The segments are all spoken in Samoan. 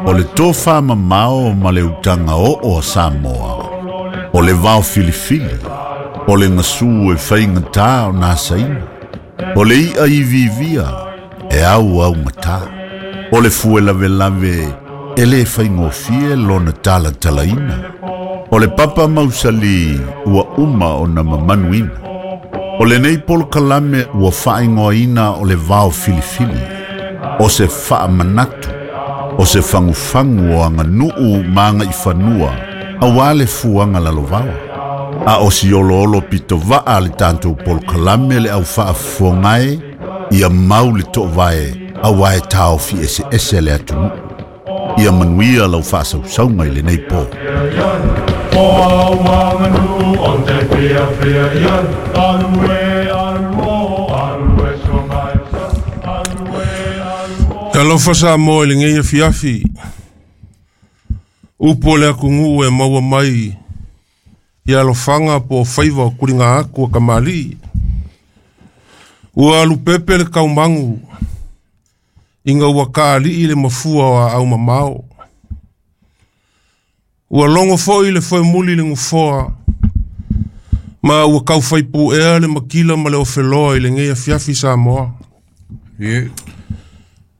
O le tofamamao ma le utaga oo a Samoa, o le vaofilifili, o le gasu e faigatā ona asaina, o le i'a iviivia e auaugatā, o le fue lavelave e lē faigofie lona talatalaina, o le papa mausali ua uma ona mamanuina. O lenei polokalame ua faaigoaina o le vaofilifili, o se faamanatu, o se fagufagu o aganuu ma agaifanua auā le fuaga lalovaoa. A o si oloolo pitovaa a le tatou polokalame le au faafofogae ia mau le toovae auā e taofi eseese le atunuu. Ia manuia lau faasausauga i lenei po. Talofa Samoa i lenei afiafi. Upu o le atunuu e maua mai i alofaga po o faiva o tuliga atu a kamali'i. Ua alupepe le taumagu ina ua taali'i le mafua o aau mamao. Ua logo foi le foemuli i le nofoa ma ua taufaipu'ea le matila ma le ofeloa i lenei afiafi Samoa.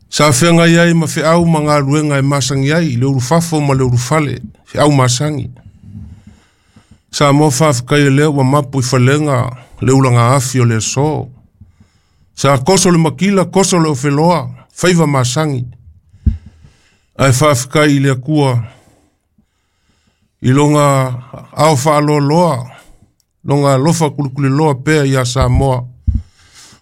Sa feagai ai ma feau ma galuega e masani ai i le ulufafo ma le ulufale, feau masani. Samoa faafetai lea ua mapu i falega le ulaga afi o le aso. Sa koso le matila, koso le ofeloa, faiva masani. Ae faafetai i le Atua i loga ao faaloaloa, loga alofa kulikuliloa pea ia Samoa.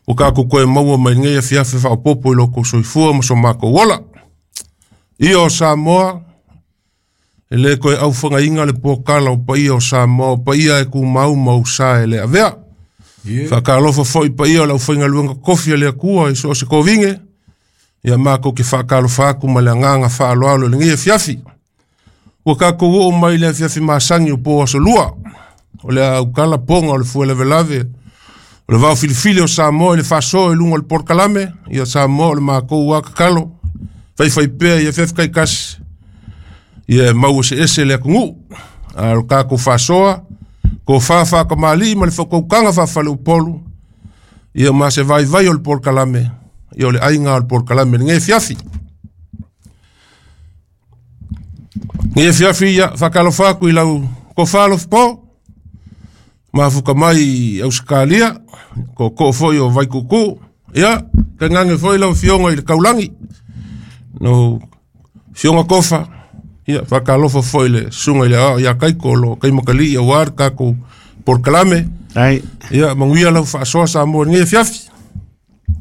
O kākou koe maua mai lenei afiafi faaopoopo i lo outou soifua ma so matou ola. Ia o Samoa, e lē toe aufagaina le pokala o paia o Samoa, o paia e tumau ma usa e le avea. Faatalofa foi paia o le aufaigaluega totofi a le Atua i so o se tovine, ia matou te faatalofa atu ma le agaga faaaloalo i lenei afiafi. Ua tatou oo mai i le afiafi masani o po aso lua, o le a autala poga o le fuelavelave, o le vaofilifili o Samoa i le faasoa i luga o le polokalame, ia Samoa o le matou a tatalo, faifaipea i afiafi taitasi, ia e mau eseese le atunuu. A o le tatou faasoa, tofa faatamalii ma le faautautaga faafaleupolu, ia ma se vaivai o le polokalame, ia o le aiga o le polokalame i lenei afiafi. Lenei afiafi, ia faatalofa atu i lau tofa Alofapo, mafuta mai i Ausetalia, tootoo foi o Vaituutuu, ia tainane foi lau afioga i le Taulagi, lau afioga Tofa, ia faatalofa foi i le susuga i le Aoao ia Taito o lo o taimatalii aua le tatou polokalame. Ai. Ia manuia lau faasoa Samoa i lenei afiafi.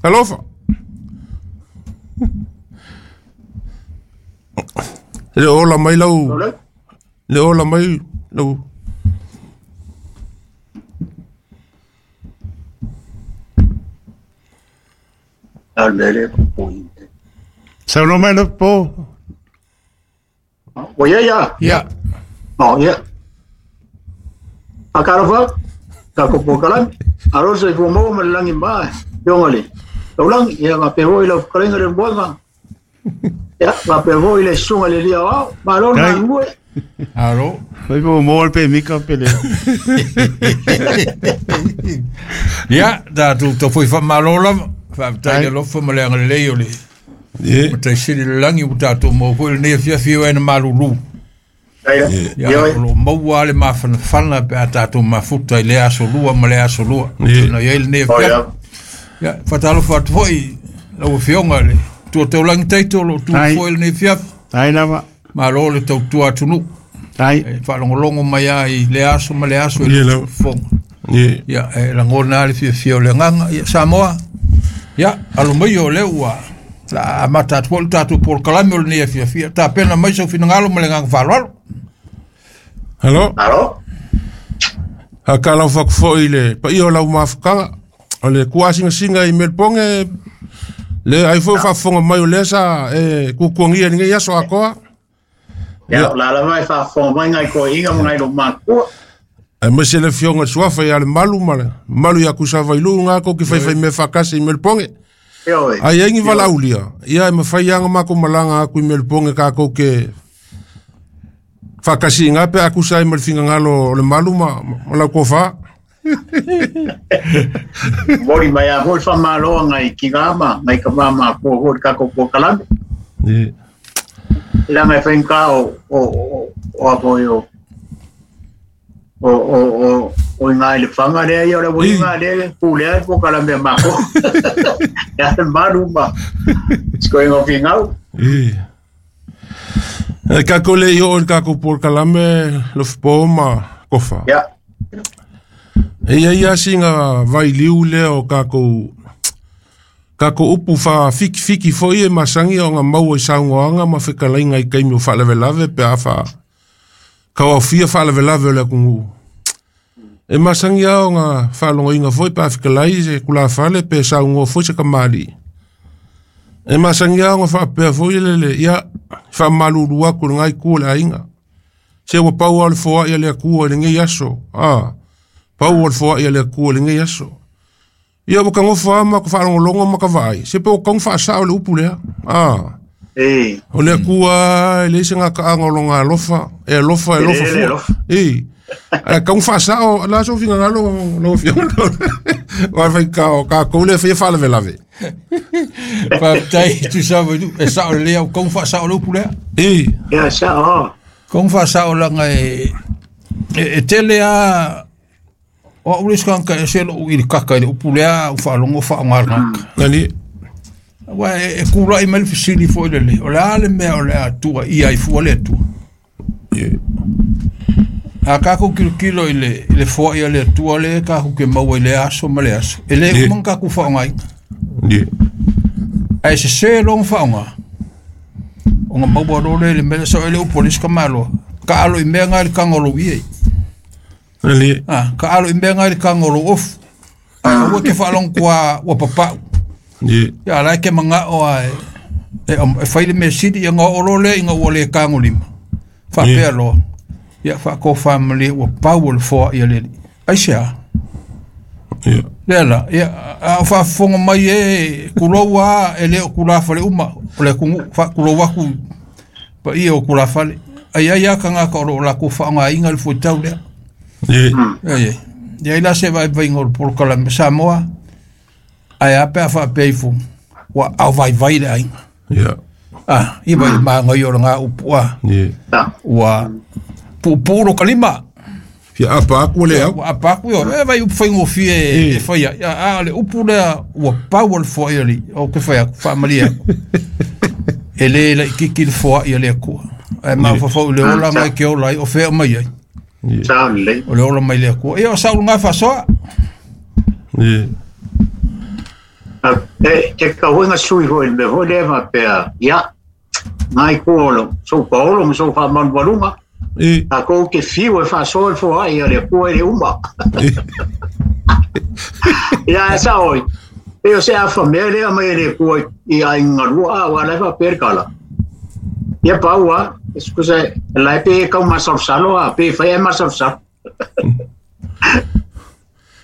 Alofa. E le o ola mai lau, le o ola mai lau. Saunoa mai lau po. Ua ia ia. Ia. Oh, ia. Faatalofa, tatou polokalame. Alo le soifua maua ma le lagi ma afioga i le taulagi. Ia faapea foi lau fetalaiga le Moega. Ia faapea foi le susuga i le Lia Aoao. Malo le Kai. galulue. Alo. Fai po maua le pemika pe le. Ia, tatou tau foi faamalo lava. Faafetai Ai. le alofa ma le agalelei o le Ie. Mataisili le lagi ua tatou maua foi lenei afiafi o e na malulu. Ia, Ia, o lo o maua lava le mafanafana pe a tatou mafuta i lea aso lua ma lea aso lua. Ie. Na i ai lenei Oh, afiafi. ia. Ia, faatalofa atu foi lau afioga i le Tua Taulagi Taito o lo o tu Ai. foi lenei afiafi. Ai lava. Malo le tautua atunuu. Ai. E faalogologo mai lava i lea aso ma lea aso i Ie, le lau. fofoga. Ie. Ia, e lagona lava le fiafia o le agaga. Ia, Samoa, ia, alo mai o lea ua la amata atu foi le tatou polokalame o lenei afiafi. Ia, tapena mai sau finagalo ma le agaga faaaloalo. Hello. Alo. Faatalofa atu foi i le paia o lau mafutaga, o le tuasingasinga i Melbourne, le ai foi faafofoga mai o lea sa e tuatuagia i lenei aso atoa. Ia, o la lava e faafofoga mai nai toeaiina ma nai loomatua. Aemaise le afioga i le Suafa ia le Malu ma le Malu ia Kusavailuu gā kou ke faifaimea faatasi i Melbourne. Ai ai ni valaulia ia e mafai anga mako malanga aku i Melbourne ka kou ke whakasi ngā pe aku sai ma le fingangalo o le malu ma lau kofa. Mori mai a hoi whamaloa ngai ki ngā ma, ngai ka mama ko hoi kako po kalame. La ngai whainga o a poi o ngai le whanga lea ia o le wui ngā lea ku lea po kalame mako. Ia te malu ma. Sko ingo fingau. Kako le i o kako por kalame lo fpo ma kofa. Ya. E ia singa vai liu le o kako upu fa fiki fiki foi e masangi o ngā maua i saungoanga ma whekalainga i kaimi o whaalavelave pe a wha kauawhia whaalavelave o le akungu. E masangi ao ngā whaalongoinga foi pe a whekalai se kula whale pe saungoa foi se kamali. E masangi ao ngā whaapea foi lele ia whamalulu aku le ngai kua le ainga. Se ua pau au le foa ia le akua le ngei aso. Pau au le foa ia le akua le ngei aso. Ia waka ngofa ama ka whaalongolongo ma ka vaai. Se pe o kaung whaasao le upu lea. O le akua e leise ngā kaanga o longa alofa. E alofa, e alofa fua. A kaung whaasao, la so finga ngalo, lo fionga. Wa whai ka kaule whai whaalavelave. Whaatai, tu sawa, e sao lea, kaung whaasao le upu lea. Ia, sao. Kaung whaasao langa e tele a o au leis kanga e selo u ili kaka i le upu lea u whaalongo whaongarangaka. Nani? Wa e kula i mele fisili fo i lele. O le ale mea o le atua, ia i fua le atua. A kako kilo kilo i le fua i le atua le kako ke maua i le aso ma le aso. E le umang kako whaongainga. Ai se se long whaonga. O ngā maua role le mele so ele upu leis ka maloa. Ka alo i mea ngai le kangolo i ei. Ka alo i mea ngai le kangolo ofu. Ai ua ke whaalong kua ua papau. Ia lai ke manga o a e whaile me sidi ia ngā olo le i ngā ua le kangolima. Whapea loa. Ia whako whamali ua pau o le foa ia leli. Ai se a? Lea la, ia a whaafonga mai e kulou a e leo kula whale uma. O le kungu whakulou aku pa ia o kula whale. Ai ai a kanga ka oro o la ko whaonga inga le fuitau lea. Ia ila se vai vai ngol por kala me Samoa. Ai a pe fa peifu. Wa au vai vai le ainga. I vai ma ngai o nga upu a. Wa pupuro kalima. Ia apa aku le au. Wa apa aku yo. E vai upu whaingo fie e whaia. Ia a le upu lea ua pau le foa ia li. O ke whaia whaamalia. E le la ikiki le foa ia le akua. Ai ma whawhau le ola ngai ke ola i o whea mai ai. O le ola mai le akua. Ia o saulu ngā whasoa. Te ka huinga sui hoi me hoi le whapea. Ia, ngai kuolo. So paolo ma so whamanu walunga. A kou ke fiu e whasoa le foa ia le akua e le uma. Ia e sa oi. E o se a whamea lea mai le akua i a ingarua a wala e whapea kala. Ia paua, scusa, lai pe kau masalsalo a pe whai e masalsalo.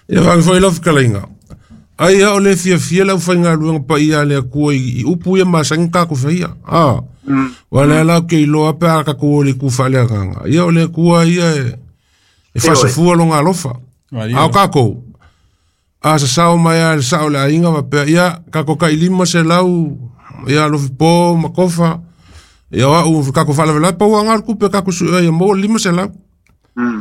Ia whangi whai lau whakalainga. Ai a o le fia fia lau whainga luanga pa ia le akua i upu ia masangi kako whaia. Wa lea lau ke iloa pe a kako o le ku whalea nganga. Ia o le akua ia e whasafua longa alofa. A o kako. A sa sao mai a le sao le ainga wapea. Ia kako ka ilima se lau ia lofi po makofa. Ia wa u kako whalavela pa ua ngar kupe kako su ia mo lima se lau.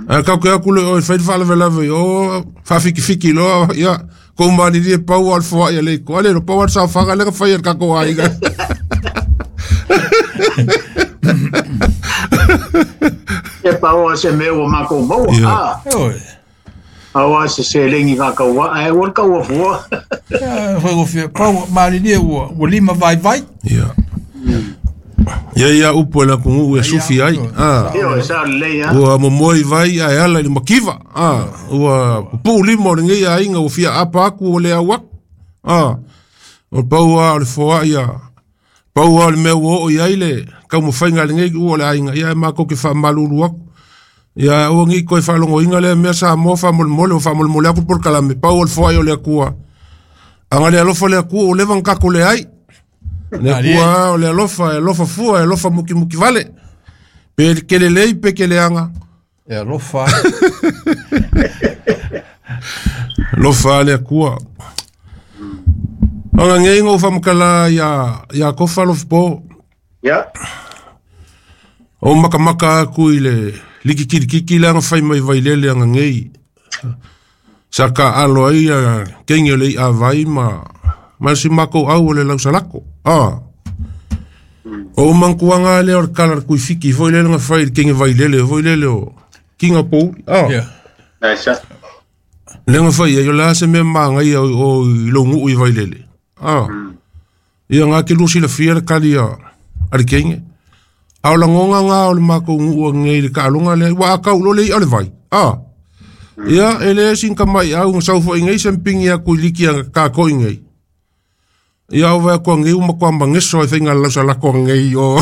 A kako ia kule o whai whalavela o whawhiki fiki loa ia ko mani rie pau al foa ia le ko ale no pau al sa whanga le ka whai kako ai. E pau se me o mako mo a. Awa se se lengi ka kaua ai won kaua fua. Whai fia pau mani rie ua lima vai vai. Ia. Ia ia upu e la kungu e sufi ai. Ua momoi vai ai ala i makiva. Ua pupu lima o le ngai ainga ua fia apa aku o le au aku. O pau a o le foa ia. Pau a o le mea ua o i ai le kaumawhainga le ngai ua le ainga. Ia e mako ke whamalulu aku. Ia ua ngi koe whalongo inga le mea sa moa whamolemole o whamolemole aku por kalame. Pau o le foa ia o le akua. Anga le alofa le akua o leva ngako le ai. Le akua o le alofa, e alofa fua, e alofa muki muki vale. Pe kele lei, pe kele anga. E alofa. Alofa le akua. Anga ngei ngau whamakala ia kofa alofa po. Ya. O makamaka aku i le liki kiri kiki le anga whai mai vailele anga ngei. Sa ka alo ai a kengi o le i a vai ma si mako au o le lausalako. Ah. O mankuanga le o kala kui fiki foi le nga fai kengi vailele foi le o kinga po. Ah. Yeah. Nice. Le nga fai yo la se me manga ia o longu i vailele. Ah. Ia nga ke lusi la fia kali a le kengi. A o la ngonga nga o le mako ngu ngai le ka alonga le wa ka ulo le i o le vai. Ah. Ia ele sin ka mai au ngau fo ngai semping ia ku liki a ka ko ngai. Ia o va ko ngai uma ko mangeso e finga la sala ko ngai o.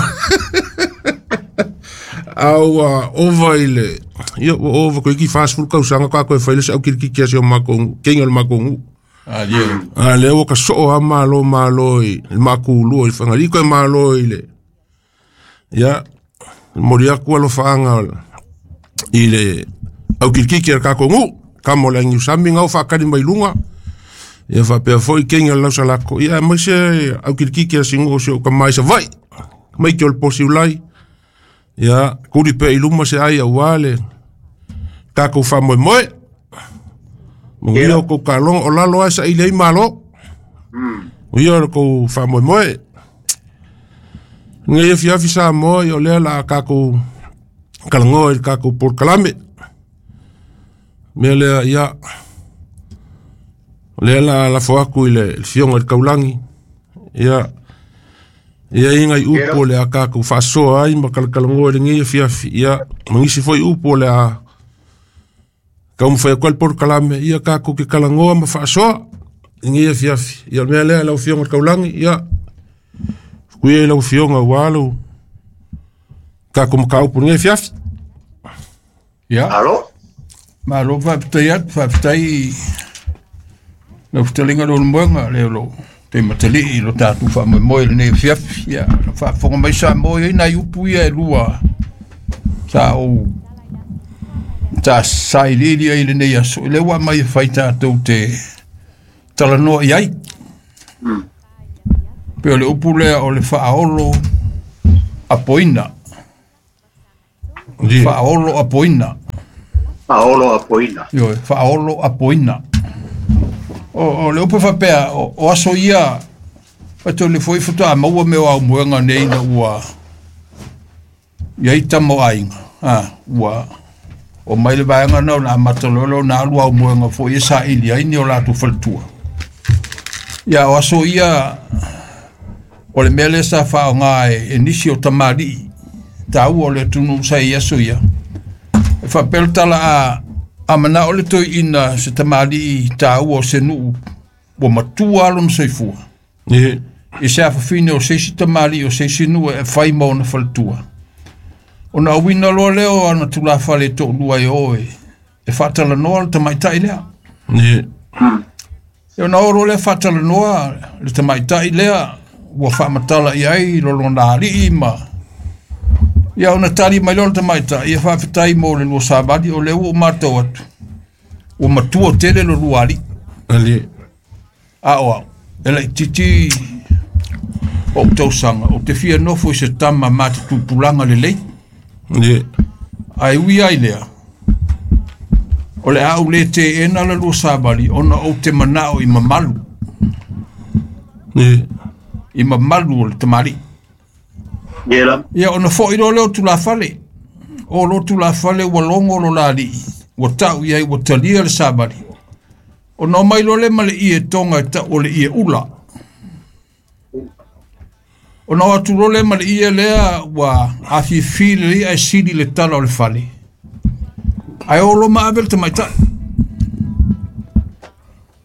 Au ova ile. Ia ova ko ki fast food ka usanga ka ko e faile au ki ki se o mako kengi o le mako ngu. Ah yeah. A le o ka so a malo malo i mako lu i fanga ko malo ile. Ia moria ku alo faanga ile au kilkiki a kako ngu, ka mo lengi usami ngau whakari mai lunga. Ia whapea foi kengi o lausalako. Ia mai se au kilkiki a singo se o ka mai sa vai. Mai ki o le posi ulai. Ia kuri pe i luma se ai au wale. Kako wha moe moe. Mungi o ko kalong o lalo ai sa ilei malo. Ia o ko wha moe moe. Ngai e fiafi sa moe o lea la kako kalangoa i kako por kalame. Mea lea ia lea la foaku i le fionga i le kaulangi. Ia ia inga i upo le a kako whaasoa ai ma kalakalangoa i le ngai e fiafi. Ia mangisi foi upo le a kaumawhai koe le por kalame. Ia kako ke kalangoa ma whaasoa i ngai e fiafi. Ia mea lea lau fionga i le kaulangi. Ia kuia i lau fionga ua kako makaupu ngai e fiafi. Ia. Alo? Malo faafetai atu, faafetai lau fetalinga lo le moega le lo te matalii lo tatou faamoemoe lenei fiafi. Ia na faafofoga mai Samoa i ai nai upu ia e lua sa ou ta sailiili ai lenei aso i le ua mai e fai tatou te talanoa i ai. Pe o le upu lea o le faaolo apoina. Faaolo apoina. Faaolo apoina. Ioe, faaolo apoina. O le upu faapea, o aso ia, fato le foi faatoa maua mea o aumoega nei na ua iai tama o aiga. Ah, ua o mai le vaega na o na amata loa lea ona alu aumoega foi e saili ai ni o latou faletua. Ia o aso ia o le mea lea sa faaaoga e nisi o tamalii taua o le atunuu sa i aso ia. E faapea le tala a manao le toeaina se tamalii taua o se nuu ua matua lona soifua. I se afafine o se isi tamalii o se isi nuu e fai ma ona faletua. Ona auina loa lea o ana tulafale e toalua e o e faatalanoa le tamaitai lea. E ona oo loa lea faatalanoa le tamaitai lea ua faamatala i ai lolona alii ma ia ona tali mai loa le tamaitai ia faafetai mo le lua savali o lea ua ou matau atu ua matua tele lo lua alii. A o au e laititi o tausaga ou te fia nofo i se tama ma te tupulaga lelei. Ae ui ai lea o le a ou le teena la lua savali ona ou te manao i mamalu. I mamalu o le tamalii. Ia ona foi loa lea o tulafale. O lo tulafale ua logo lo la alii. Ua tau i ai ua talia le savali. Ona o mai loa lea ma le ie toga e tau o le ie ula. Ona o atu loa lea ma le ie lea ua afifi lelei ae sili le tala o le fale. Ae o lo ma ave le tamaitai.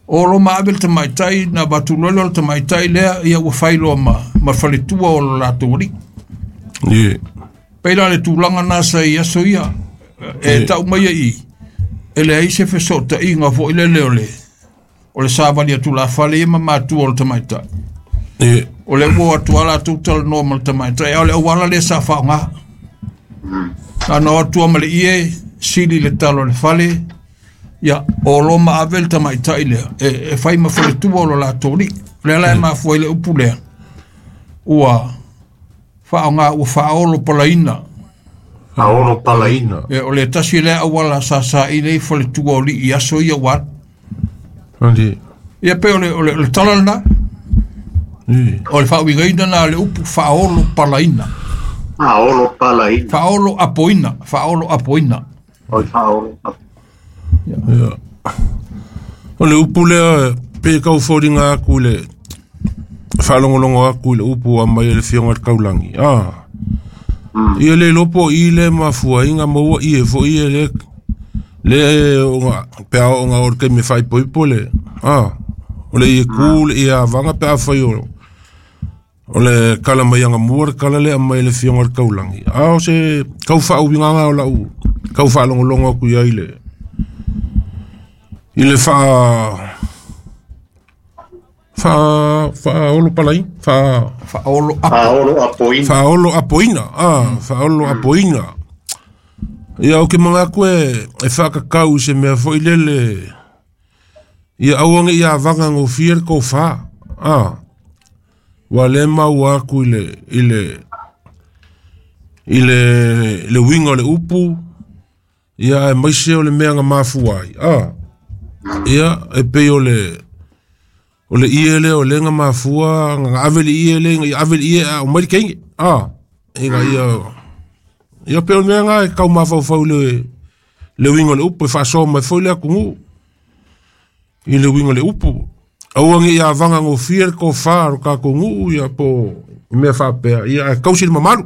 O lo ma ave le tamaitai na avatu loa lea o le tamaitai lea ia ua fai loa ma faletua o lo latou alii. Pei la le tulaga na sa i aso ia e tau mai ai i e leai se fesootaiga foi lele o O le savali atu tulafale ia ma matua o le tamaitai. E. O le ua atu ala latou talanoa ma le tamaitai, a o le auala lea sa faaaoga. Na ona o atu lava ma le ie, sili le talo o le fale, ia, olo ma ave le tamaitai lea, e fai ma faletua o lo latou alii. O lea la e mafua ai le upu lea, ua faaaoga ua faaolo palaina. Faaolo palaina. E, o le tasi lea auala sa saili ai faletua o alii i aso ia ua alu. Ali. Ia pe o le tala lena. E. O le faauigaina na o le upu faaolo palaina. Faaolo palaina. Faaolo apoina. Faaolo apoina. O le faaolo apoina. Ia. O le upu lea pe kau foliga atu i le faalogologo atu i le upu aumai e le Afioga i le Taulagi. Ah. Ia le iloa po o i le mafuaiga maua ie foi ia le le ona pe a oo ina oo i le taimi e faaipoipo le a o le ie ku le ie avaga pe afai o le kala mai agamua le kala lea aumai e le Afioga i le Taulagi. A o se tau faauigaga o lau tau faalogologo atu i ai i le faaolo palai Faaolo apo. Faaolo apoina. Faaolo apoina. Ah, faaolo apoina. Ia o ke manatu e whakakau i se mea foi lele ia aua ne i avaga gofie le tofa. Ah. Ua le maua atu i le uiga o le upu ia aemaise o le mea na mafua ai. Ah. Ia e pei o le ie lea o le na mafua na ave le ie lea ina ia ave le ie a o mai le keige. Ah. Ina ia ia pe o le mea na e kau mafaufau le uiga o le upu e faasoa mai foi le atunuu i le uiga o le upu. Aua ne i avaga gofie le tofa o le tatou nuu ia po o mea faapea ia ae tausi le mamalu.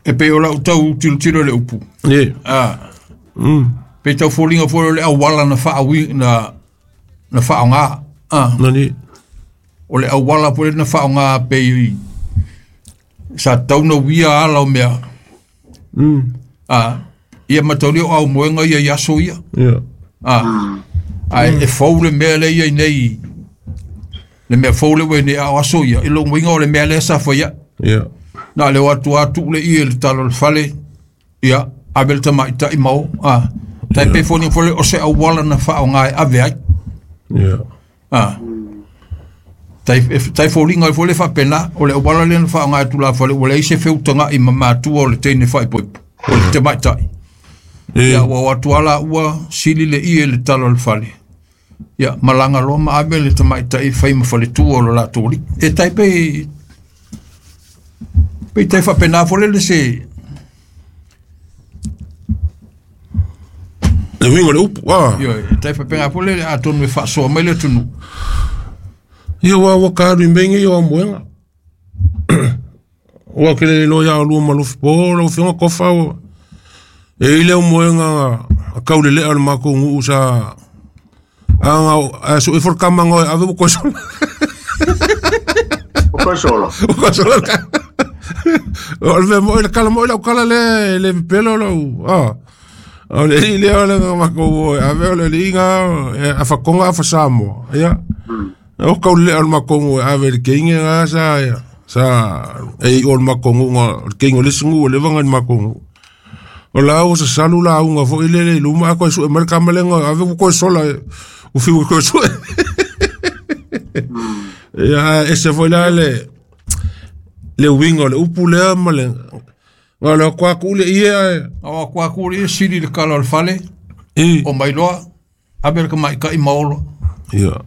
E pei o lau tau tilotilo i le upu. E. Ah. Pe tau foliga foi o le auala na faaui na faaaoga. Ah. Nani. O le auala foi na faaaoga pei sa tau na uia ala o mea. Ah. Ia mataulia o aumoega ia i aso ia. Ia. Ah. Ae e fou le mea lea ia i nei. Le mea fou le ua i nei a o aso ia. I lou uiga o le mea lea sa faia. Ia. Na le o atu atu le ie le talo o le fale. Ia. Ave le tamaitai ma o. Ah. Tai pe foliga foi o se auala na faaaoga e ave ai. Ia. Ah. Tai foliga foi le faapena o le auala lea na faaaoga e tulafale ua leai se feutaga'i ma matua o le teine faaipoipo o le tamaitai. E. Ia ua o atu ala ua sili le ie le talo o le fale. Ia malaga loa ma ave le tamaitai fai ma faletua o lo latou alii. E tai pe tai faapena foi le se le uiga o le upu. Ah. Ia tai faapena foi le atonu e faasoa mai le atunuu. Ia ua ka alu i mea nei o amoega. Ua ke le iloa ia olua ma lofi po lau Afioga Kofa ua e i le aumoega a kaulelea o le makou nuu sa aga a sue fo le kamaga o e ave ua koe sola. O koe sola. O koe sola le kama. O le mea moi le kala moi lau kala lea e le pepelo lau. Ah. O le alii lea o le makou o e ave o le alii ga e afakoga afa Samoa. Ia. O kaulelea o le makou nuu e ave i le keige ga sa ia. Sa e i o le makou nuu o le keige o le isi nuu o leva ga i le makou nuu. O la ua sasalu lauga foi lele i luma a koe sue mai le kama lea na ave ua koe sola ua fiu e koe sue. Ia ese foi la le uiga o le upu lea ma le na o le akuaku le ie ae. O akuaku le ie sili le kala o le fale. E. O mailoa ave le tamaitai ma olo. Ia.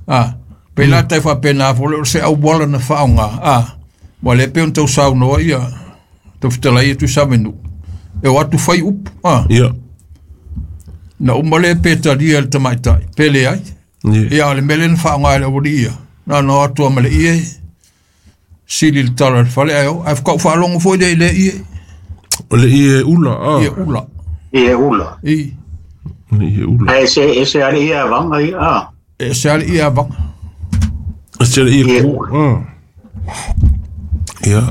Ah. Pe la tai faapena foi o se auala na faaaoga. Ah. Ua le pe ona tau saunoa ia tau fetalai ia Tuisamenu. E o atu fai upu. Ah. Ia. Na uma le pe talia le tamaitai. Pe leai. Ia. Ia o le mea lea na faaaoga e le aualii ia. Na ona o atu ma le ie sili le tala o le fale ae o. Ae whakau faalogo foi lea i le ie. O le ie ula. Ah. Ie ula. Ie ula. I. Le ie ula. Ae se ale ie avaga ia. Ah. E se ale ie avaga. E se ale ie ku. Ah. Ia.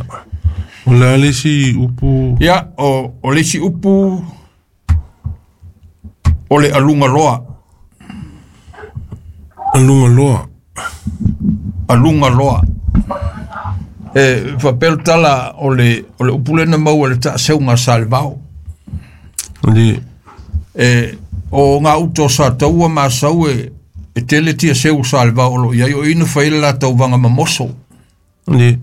O le a le isi upu. Ia, o le isi upu. O le aluga loa. Aluga loa. Aluga loa. E faapea le tala o le upu lea na maua i le taaseuga a Salevao. Ali. E o gauta o Sataua ma Asau e tele tia seu o Salevao o lo o i ai, o i na fai ai le latou vaga mamoso. Ali.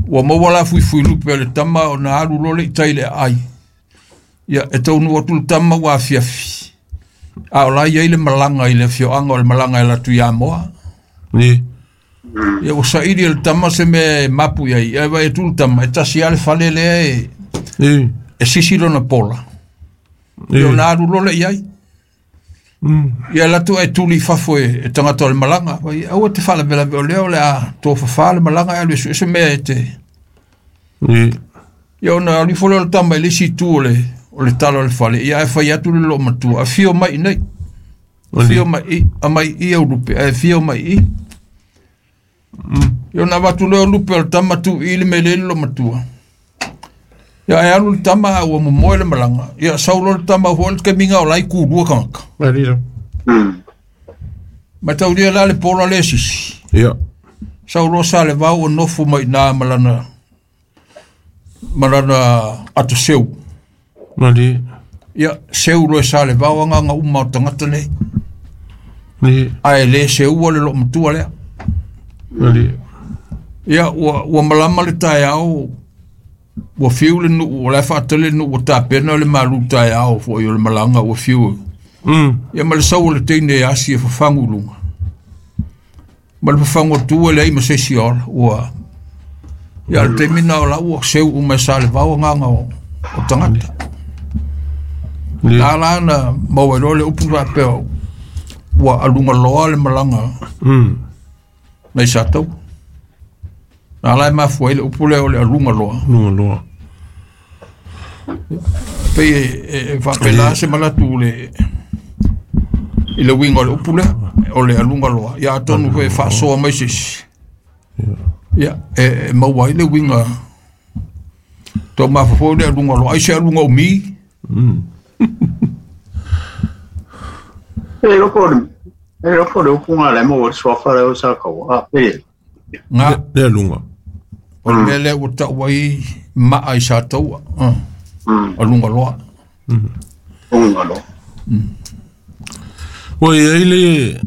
Ua maua la fuifuilupe a le tama ona alu loa le i tai i le aai. Ia, e taunuu atu le tama ua afiafi, a o la e i ai le malaga i le afioaga o le malaga e alu atu i Amoa. Ali. Ia, ua saili e le tama se mea e mapu i ai, ae vaai atu le tama, e tasi lava le fale lea e sisi lona pola. Ia, ona alu loa lea i ai. Ia, alu atu ae tuli i fafo e tagata o le malaga. Fai, aua e te faalavelave o lea o le a tofafa le malaga e alu e sue se mea e te. Ia, ona alu ifo lea o le tama i le isi itu o le tala o le fale, ia ae fai atu le loomatua, afio mai i nei. Afio mai i, amai i au lupe, ae afio mai i. Ia, ona avatu lea o lupe o le tama tu i le mea le loomatua. Ia, ae alu le tama a ua momoe le malaga. Ia, sau loa le tama foi le taimiga o la e kulua tagata. Mataulia la le pola le sisi. Ia. Sau loa Salevao o nofo mai i na ma lana ataseu. Ali. Ia, seu loa e Salevao agaga uma o tagata nei. Ali. Ae le seua le loomatua lea. Ali. Ia, ua malama le taeao, ua fiu le nuu, o la e faatali le nuu ua tapena le malu taeao foi o le malaga ua fiu. Ia, ma le sau o le teine e asi e fafagu i luga. Ma le fafagu atu e leai ma se isi ola, ua. Ia, le taimi na o la ua seu uma e Salevao agaga o tagata. La la na maua ai loa le upu faapea ua aluga loa le malaga nai Sataua. Na la e mafua ai le upu lea o le aluga loa. Aluga loa. Pei e faapena se manatu i le uiga o le upu lea, o le aluga loa. Ia, atonu foi e faasoa mai se isi. Ia, e maua ai le uiga. Tau mafaufau le aluga loa, ai se aluga umi. E loko le upu nga le mo le suafa le o sa kau. A, pe. Nga. Le aluga. O le mea lea ua tau ai maa i Sataua. Aluga loa. Aluga loa. Ua i ai le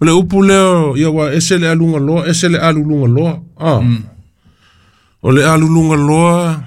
o le upu lea, ia ua ese le aluga loa, ese le aluluga loa. O le aluluga loa.